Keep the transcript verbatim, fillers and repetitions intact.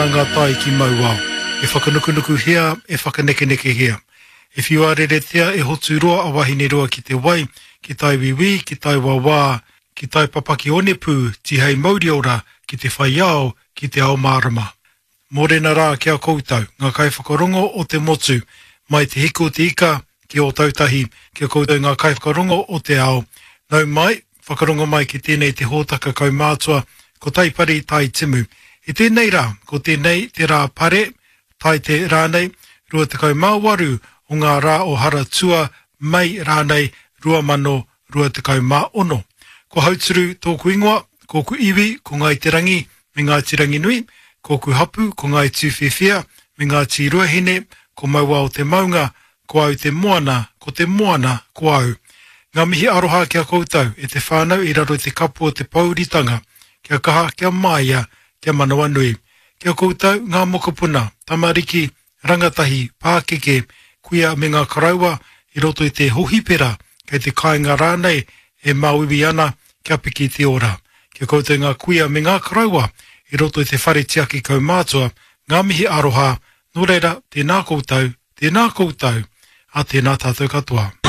Ngā tai ki Mauao, e whakanukunukuhia, e whakanekenekehia. E whiua reretia e Hoturoa a Wahineroa ki te wai, ki tai wiwi, ki tai wawā, ki tai papaki onepū, tihei mauriora, ki te whai ao, ki te ao mārama. Mōrena rā ki a koutou, ngā kaiwhakarongo o te motu, mai te hiku o te ika ki Ōtautahi, ki a koutou ngā kaiwhakarongo o te ao. Nau mai, whakarongo mai ki tēnei te hōtaka kaumātua, ko Taipari Tai Timu. I tēnei rā, ko tēnei te rā pare, Taite rānei, rua tekau mā waru o ngā rā o Haratua, Mei rānei, rua mano rua tekau mā ono. Ko Hauturu tōku ingoa, kōku iwi ko Ngāi Te Rangi me Ngāti Ranginui, kōku hapu ko Ngāi Tūwhiwhia me Ngāti Ruahine, ko Mauao te maunga, ko au te moana, ko te moana ko au. Ngā mihi aroha ki a koutou e te whānau i raro i te kapu o te pouritanga, kia kaha, kia māia, kia manawanui. Ki a koutou ngā mokopuna, tamariki, rangatahi, pākeke, kuia me ngā koroua i roto i te hohipera, kei te kāinga rānei e māuiui ana kia piki te ora. Ki a koutou ngā kuia me ngā koroua i roto i te whare tiaki kaumātua, ngā mihi aroha, nō reira, tēnā koutou, tēnā koutou, a tēnā tātou katoa.